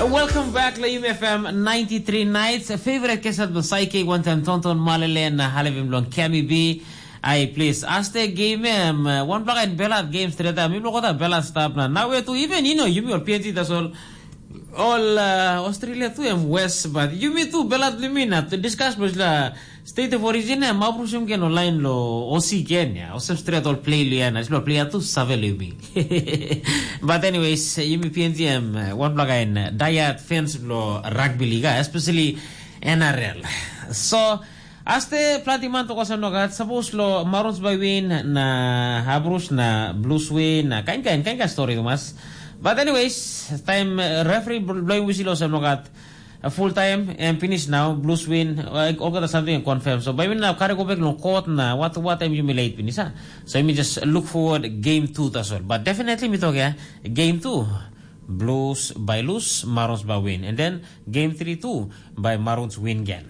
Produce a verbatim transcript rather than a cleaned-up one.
Welcome back la Yumi F M ninety-three Nights. Favorite kesat lo Saike, one time Tonton Malele na halivim long Kemi B. Ai, please, aste game em, uh, one black and belat game straight up. Mi blok kota belat stap na. Now we tu even, you know, Yumi or P N G, that's all. All uh, Australia tu em West, but Yumi tu belat Lumina to discuss bos la State of Origin em mabrusum gen online lo O C gen ya. Osem straight all play liana. Silo play tu save Lumi. But anyways, Yumi P N G em, uh, one black and diehard fans lo rugby league, especially N R L. So, aste planti man toko sa nogat, sapos lo Marons by win na Habrus na Blues win na kain kain kain kain story tumas. But anyways, time uh, referee bl- blowing whistle also nogat. Uh, full time and finish now. Blues win. Uh, all got something and confirm. So by win now, carry go back no court na what what time you late finish. Huh? So you just look forward game two as well. But definitely me talk yeah, game two. Blues by lose, Marons by win, and then game three too by Marons win again.